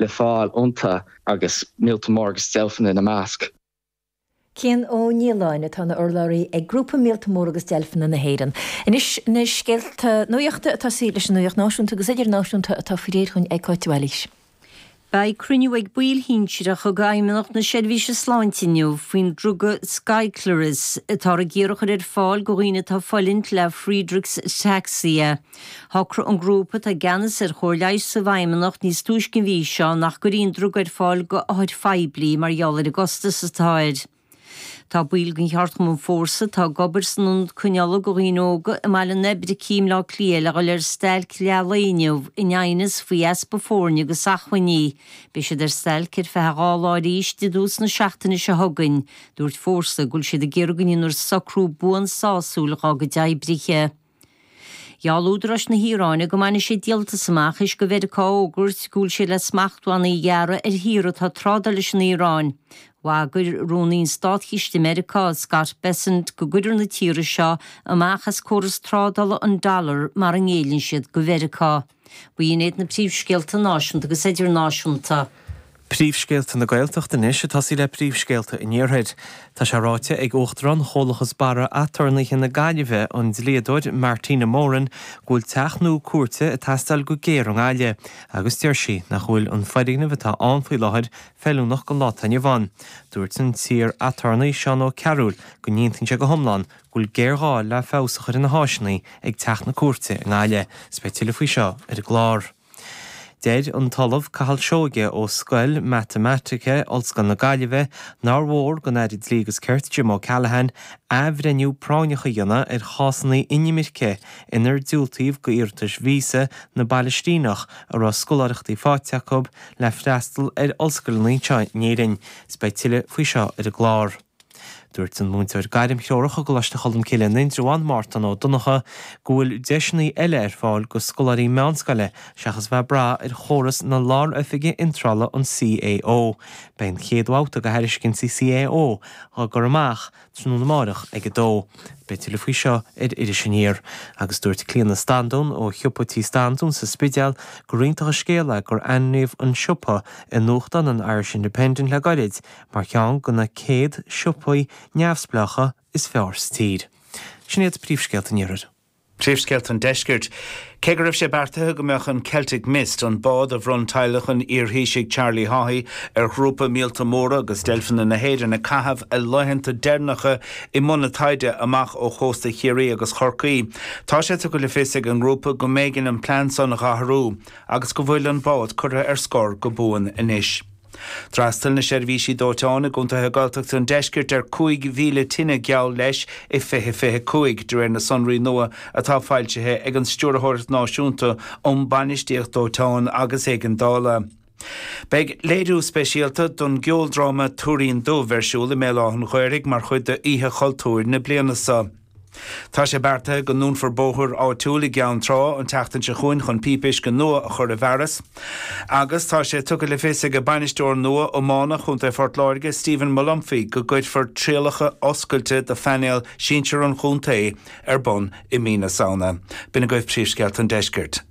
le fáil iontu agus míolta móra agus deilfeanna ina measc. Cian Ó Nialláin atá ina urlabhraí ag Grúpa Míolta Móra agus Deilfeanna na hÉireann. Anois na scéalta nuachta ag tosaí leis an nuacht náisiúnta agus idirnáisiúnta atá faoi réir dhúinn ag Cáit de Bhailís. Beidh cruinniú ag baill shinsearacha d'Fheidhmeannacht na Seirbhíse Sláinte inniu faoin druga Skyclarys atáthar ag iarraidh a chur ar fáil do dhaoine atá ag fulaingt le Friedreich's Ataxia. Shocraigh an grúpa atá i gceannas ar chóir leighis sa bhFeidhmeannacht níos túisce an mhí seo nach gcuirfí an druga ar fáil go othair phoiblí mar gheall ar an gcostas atá air. Tá baill den cheardchumann Fórsa atá ag obair san ionad coinneála do dhaoine óga i mBaile an Oibricigh i mBleá Cliath le dhul ar stailc leath lae inniu in aighneas faoi easpa foirne agus acmhainní. Beidh siad ar stailc ar feadh 2 lá arís i dtús na seachtaine seo chugainn. Dúirt Fórsa go bhfuil siad ag iarraidh go ndéanfar socrú buan sásúil dhá gcuid oibrithe. Gheall údaráis na hIaráine go mbainfidh siad díoltas amach théis do Mheiriceá a fhógairt go bhfuil siad le smachtbhannaí a ghearradh ar thíortha atá ag trádáil leis an Iaráin. Bhagair Rúnaí an Státchiste i Meiriceá, Scott Bessent, go gcuirfear na tíortha seo amach as córas trádála an dollar mara ngéilleann siad do Mheiriceá. B'in iad na príomhscéalta náisiúnta agus idirnáisiúnta. Príomhscéalta na Gaeltachta anois, ag tosaí le príomhscéalta an Iarthair. Tá sé ráite ag Uachtarán Chomhlachas Barra Aturnaetha na Gaillimhe, an dlíodóir Martina Moran, go bhfuil teach nua cúirte ag teastáil go géar i nGaillimh agus deir sí nach bhfuil an foirgneamh atá ann faoi láthair feiliúnach don lá atá inniu ann. Dúirt an t-iar-aturnae Seán Ó Cearúil go n-aontaíonn sé go hiomlán go bhfuil géarghá le feabhas a chur ar na háiseanna ag Teach na Cúirte i nGaillimh. Is beidh tuilleadh faoi seo ar an gclár. Deir an tOllamh Cathal Seoighe ó Scoil Matamaitice Ollscoil na Gaillimhe nár mhór don Aire Dlí agus Cirt Jim O'Callaghan athbhreithniú práinneach a dhéanamh ar chásanna inimirce inar diúltaíodh d'iarratais víosa na bPalaistíneach a raibh scoláireachtaí faighte acu le freastal ar ollscoileanna anseo in Éirinn. Is beidh tuilleadh faoi seo ar an gclár. Dúirt an múinteoir gairmthreorach i gColáiste Cholmcille in Indreabhán, Mártan Ó Donnchadha, go bhfuil deiseanna eile ar fáil go scoláirí meánscoile seachas bheith ag brath ar chóras na Lár-Oifige Iontrála an CAO. Beidh an chéad bhabhta de thairiscintí CAO á gcur amach tráthnóna amárach ag 2. Beidh tuilleadh faoi seo ar Iris Aniar. Agus dúirt Clíona Standún ó shiopa Tí Standún sa Spidéal gur iontach an scéal é gur ainmníodh an siopa i nuachtán an Irish Independent le gairid mar cheann de na 100 siopaí neamhspleácha is fearr sa tír. Sin iad príomhscéalta an Iarthair. Príomhscéalta an Deiscirt. Cé go raibh sé beartaithe go mbeadh an Celtic Mist, an bád a bhronn teaghlach an iarThaoisigh Charlie Haughey ar ghrúpa Míolta Móra agus Deilfeanna na hÉireann ag caitheamh a laethanta deireanacha i mbun a taighde amach ó chósta Chiarraí agus Chorcaí, tá sé tugtha le fios ag an ngrúpa go mb'éigean an plean san a dh'athrú agus go bhfuil an bád curtha ar scor go buan anois. D'fhreastail na seirbhísí dóiteáin i gcontaetha Gaeltachta an deiscirt ar 5,000 tine geall leis i 2025, de réir na sonraí nua atá foilsithe ag an Stiúrthóireacht Náisiúnta um Bainistíocht Dóiteáin agus Éigeandála. Beidh léiriú speisialta don gceoldráma Tuairín Dubh ar siúl i mBéal Átha an Ghaorthaidh mar chuid d'Oíche Chultúir na bliana seo. Tá sé beartaithe go ndúnfar bóthar áitiúil i gCeann Trá an tseachtain seo chugainn chun píopa uisce nua a chur i bhfearas. Agus tá sé tugtha le fios ag bainisteoir nua iomána Chontae Phort Láirge, Stephen Molumphy, go gcuirfear trialacha oscailte do phainéal sinsir an chontae ar bun i mí na Samhna. B'in agaibh príomhscéalta an deiscirt.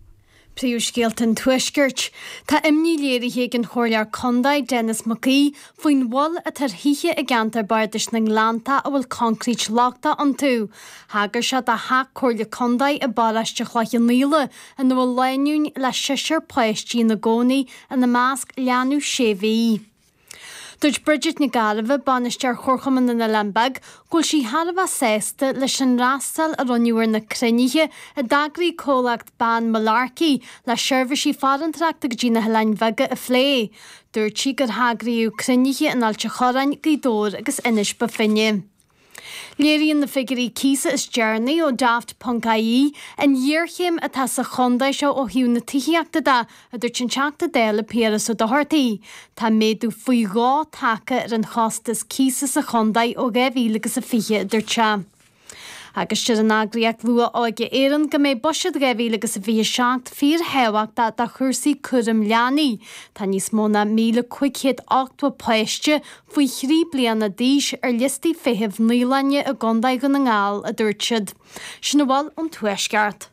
Príomhscéalta an Tuaiscirt. Tá imní léirithe ag an Chomhairleoir Contae, Denis Mac Aoidh, faoin bhfuil atá ar thithe i gceantar Bardais na nGleanntach a bhfuil coincréit lochtach iontu. Thagair sé do theach Comhairle Contae i bparóiste Chloich Cheann Fhaola ina bhfuil lánúin le seisear páistí ina gcónaí, ina measc leanbh sé mhí. Dúirt Bridget Nic Gairbheith, Bainisteoir Chomharchumann na nOileán Beag, go bhfuil sí thar a bheith sásta leis an fhreastal a rinneadh ar na cruinnithe a d'eagraigh comhlacht Ban Mullarkey le seirbhísí farantóireachta go dtí na hOileáin Bheaga a phlé. Dúirt sí gur heagraíodh cruinnithe in Ailt a' Chorráin, Gaoth Dobhair agus Inis Bó Finne. Léiríonn na figiúirí cíosa is deireanaí ó Daft ponc ie an ghéarchéim atá sa chontae seo ó thaobh na tithíochta de, a dúirt an Teachta Dála Piaras Ó Dochartaigh. Tá méadú faoi dhó tagtha ar an chostas cíosa sa chontae ó 2000 agus a 20, a dúirt sé. Agus deir an eagraíocht Luath-Óige Éireann go mbeidh Buiséad 2000 agus a 27 fíorthábhachtach do chúrsaí cúraim leanaí. Tá níos mó ná 1,580 páiste faoi thrí bliana d'aois ar liostaí feithimh naíolainne i gContae Dhún na nGall, a dúirt siad. Sin a bhfuil ón Tuaisceart.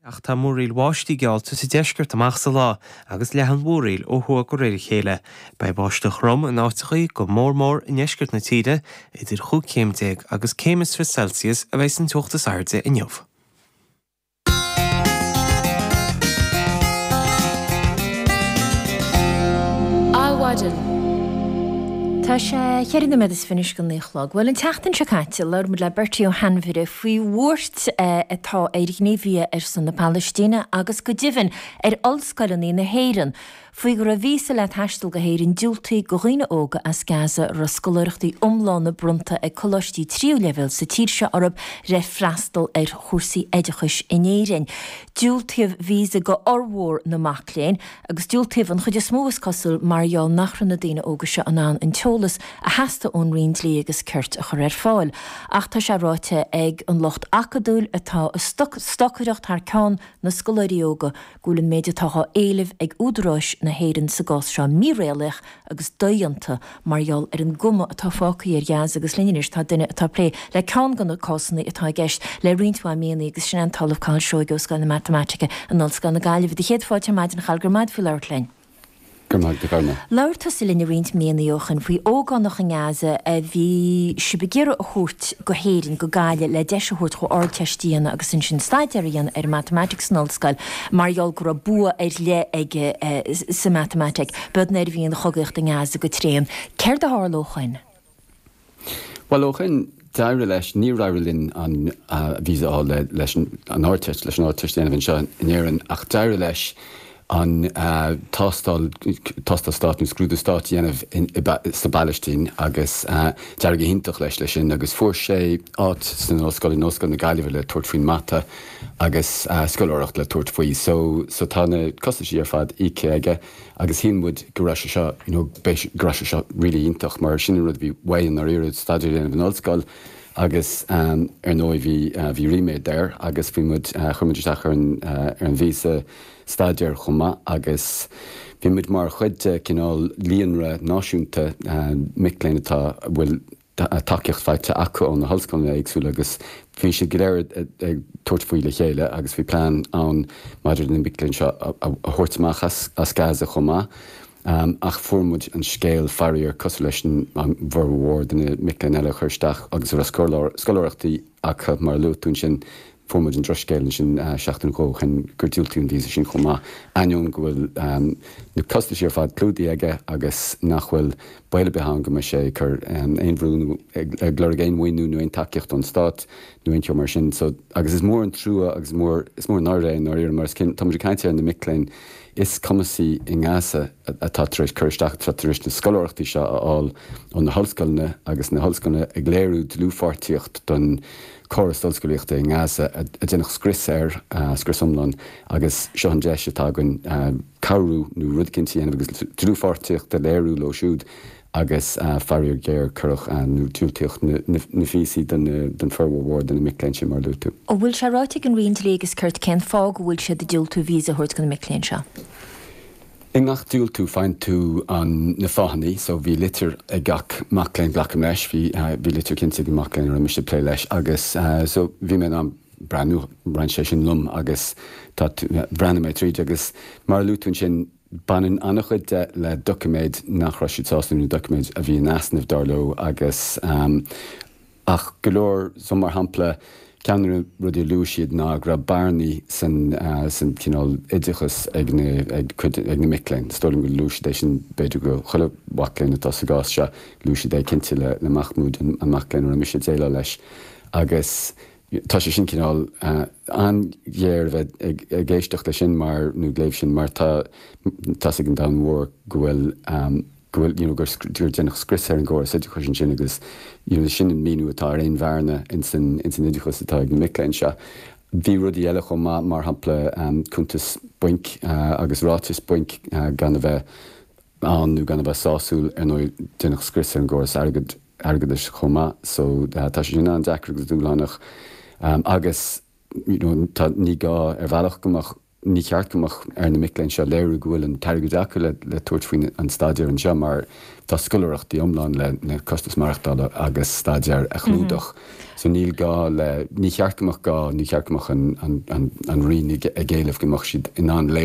Ach tá múraíl bháistí geallta sa deisceart amach sa lá agus leathann mhúraíl ó thuaidh de réir a chéile. Beidh báisteach throm in áiteachaí, go mór mór i ndeisceart na tíre. Idir chúig chéim déag agus céim is 20 Celsius a bheidh an teocht is airde inniu. Adhmhaidin. Tá sé cheithre nóiméad is fiche anois go naoi a chlog. Bhuel, an tseachtain seo caite, labhair muid le Bertie Ó hAinmhire faoi bhuairt atá ar ghníomhaithe ar son na Palaistíne agus go deimhin ar ollscoileanna na hÉireann faoi go raibh víosa le taisteal go hÉirinn diúltaithe go dhaoine óga as Gaza a raibh scoláireachtaí iomlána bronnta ag coláistí tríú leibhéal sa tír seo orthu le freastal ar chúrsaí oideachais in Éirinn. Diúltaíodh víosa go fhormhór na mac léinn agus diúltaíodh an chuid is mó is cosúil mar gheall nach raibh na daoine óga seo in ann an t-eolas a theastaigh ón Roinn Dlí agus Cirt a chur ar fáil. Ach tá sé ráite ag an lucht acadúil atá ag stocaireacht thar ceann na scoláirí óga go bhfuil an méid atá á éileamh ag údaráis na hÉireann sa gcás seo míréalaíoch agus dodhéanta mar gheall ar an gcuma atá fágtha ar Ghaza agus linn anois tá duine atá ag plé le ceann de na cásanna atá i gceist le roinnt mhaith míonna agus sin é an tOllamh Cathal Seoighe ó Scoil na Matamaitice in Ollscoil na Gaillimhe. Do chéad fáilte ar maidin a Chathail, go raibh maith agat faoi labhairt linn. Go raibh maith agat, a Ghormaith. Labhair tusa linn roinnt míonna ó shoin faoi ógánach i nGaza a bhí sibh ag iarraidh a thabhairt go hÉirinn, go Gaillimh, le deis a thabhairt dhó Ardteist a dhéanamh agus ansin staidéar a dhéanamh ar an Matamaitic san ollscoil mar gheall go raibh bua ar leith aige sa Matamaitic. B'iod nuair a bhí an chogaíocht i nGaza go tréan. Céard a tharla ó shoin? Bhuel, ó shoin, d'éirigh leis, níor éirigh linn an visa a fháil leis an Ardteist, leis an Ardteist a dhéanamh anseo in Éirinn, ach d'éirigh leis an tástáil, tástáil stáit nó scrúdú stáit a dhéanamh sa bPalaistín agus d'éirigh go hiontach leis leis sin agus fuair sé áit san ollscoil, in Ollscoil na Gaillimhe le tabhairt faoin mata agus scoláireacht le tabhairt faoi. So, so tá na costaisí ar fad íoctha aige. Agus shíl muid go raibh sé seo, you know, go raibh sé seo really iontach mar sin an rud a bhí uaidh i ndáiríre, staidéar a dhéanamh in ollscoil agus ar ndóigh bhí, bhí ríméad air agus bhí muid, chuir muid isteach ar an, ar an víosa staidéir chomh maith agus bhí muid mar chuid de cineál líonra náisiúnta mic léinn atá, a bhfuil tacaíocht faighte acu ó na hollscoileanna éagsúla agus bhí siad go léir ag tabhairt faoi le chéile agus bhí plean ann maidir le na mic léinn seo a thabhairt amach as Gaza chomh maith. Ach fuair muid an scéal, faraor, cosúil leis an bhformhór de na mic léinn eile a chuir isteach agus a raibh scoláireachtaí acu, mar a luaigh tú ansin, Fuair muid an drochscéal ansin seachtain nó dhó ó shin gur diúltaíodh an víosa sin chomh maith, ainneoin go bhfuil na costaisí ar fad clúdaithe aige agus nach bhfuil baol ar bith ann go mbeidh sé ag cur aon bhrú nó ag lorg aon mhaoiniú nó aon tacaíocht ón stát nó aon cheo mar sin. So, agus is mór an trua agus is mór, is mór an náire é i ndáiríre mar is tá muid ag caint ar na mic léinn is cumasaí i nGaza atá tar éis cur isteach, atá tar éis na scoláireachtaí seo a fháil ó na hollscoileanna agus na hollscoileanna ag léiriú dlúthpháirtíocht don córas ollscolaíochta i nGaza a déanadh scrios air, scrios iomlán, agus seo an deis atá againn cabhrú nó rud eicínt a dhéanamh agus dlúthpháirtíocht a léiriú leo siúd agus faraor géar cuireadh nó diúltaíodh na víosaí don formhór mhór de na mic léinn sin mar a luaigh tú. An bhfuil sé ráite ag an Roinn Dlí agus Cirt cén fáth go bhfuil siad ag diúltú víosa a thabhairt do na mic léinn seo? I ngach diúltú faigheann tú an, na fáthanna, so bhí litir ag gach mac léinn, glacaim leis, bhí, bhí litir cinnte ag an mac léinn a raibh mise ag plé leis agus so bhí mé in ann breathnú, roinn sé sin liom agus tá, bhreathnaigh mé tríd agus mar a luaigh tú ansin, baineann an-chuid de le doiciméid nach raibh siad sásta nó doiciméid a bhí in easnamh dar leo agus. Ach go leor, so mar shampla, ceann de na rudaí a luaigh siad ná go raibh bearnaí san, san cineál oideachas ag na, ag cuid, ag na mic léinn. Is dóigh liom gur luaigh siad é sin b'fhéidir go chuile mhac léinn atá sa gcás seo, luaigh siad é cinnte le, le Mahmoud, an, an mac léinn a raibh mise ag déileáil leis. Agus tá sé sin cineál an-ghéar a bheith ag, ag éisteacht leis sin mar, nó ag léamh sin mar tá, tá's ag an domhan mhór go bhfuil, go bhfuil, you know, gur, gur déanadh scrios ar an gcóras oideachais ansin agus, you know, sin an míniú atá ar aon bhearna ins an, ins an oideachas atá ag na mic léinn seo. Bhí rudaí eile chomh maith, mar shampla, cuntas bainc agus ráiteas bainc gan a bheith ann nó gan a bheith sásúil, ar ndóigh déanadh scrios ar an gcóras airgead, airgeadais chomh maith so tá sé sin an-deacair agus dúshlánach agus, you know, tá, ní gá ar bhealach go mbeadh. Ní cheart go mbeadh ar na mic léinn seo léiriú go bhfuil an t-airgead acu le tabhairt faoin an staidéar anseo mar tá scoláireachtaí iomlán le na costais maireachtála agus staidéar a chlúdach. So níl gá le, ní cheart go mbeadh gá, ní cheart go mbeadh an an an Roinn ag éileamh go mbeadh siad in ann léiriú.